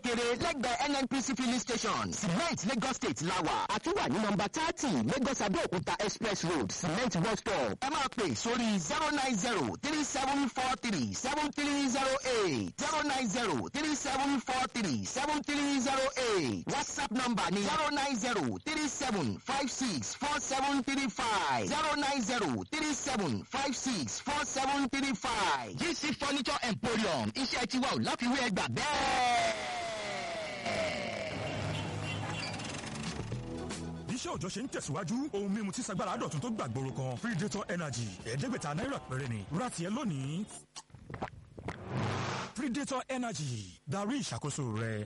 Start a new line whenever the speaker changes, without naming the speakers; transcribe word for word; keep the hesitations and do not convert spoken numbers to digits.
Kékeré lẹ́gbẹ̀ẹ́ N N P C filling station, Cement, Lagos State lawa. Àtúwà ní nọmba thirty, Lagos Abẹ́òkúta Express Road, Cement bus stop. Ẹ máa pè sórí zero nine zero three seven four three seven three zero eight, zero nine zero three seven four three seven three zero eight. WhatsApp number ní zero nine zero three seven five six four seven three five, zero nine zero three seven five six four seven three five. G C Furniture Emporium, iṣẹ́ tiwa ò láfiwé, ẹgbà bẹ́ẹ̀.
Iṣẹ́ òòjọ́ ṣe ń tẹ̀síwájú, ohun mímu tí sagbára dọ̀tun tó gbàgbóró kan, Predator Energy, ẹ̀ẹ́dẹ́gbẹ̀ta náírà péré ni. Ra tiẹ̀ lónìí. Predator Energy, darí ìṣàkóso rẹ.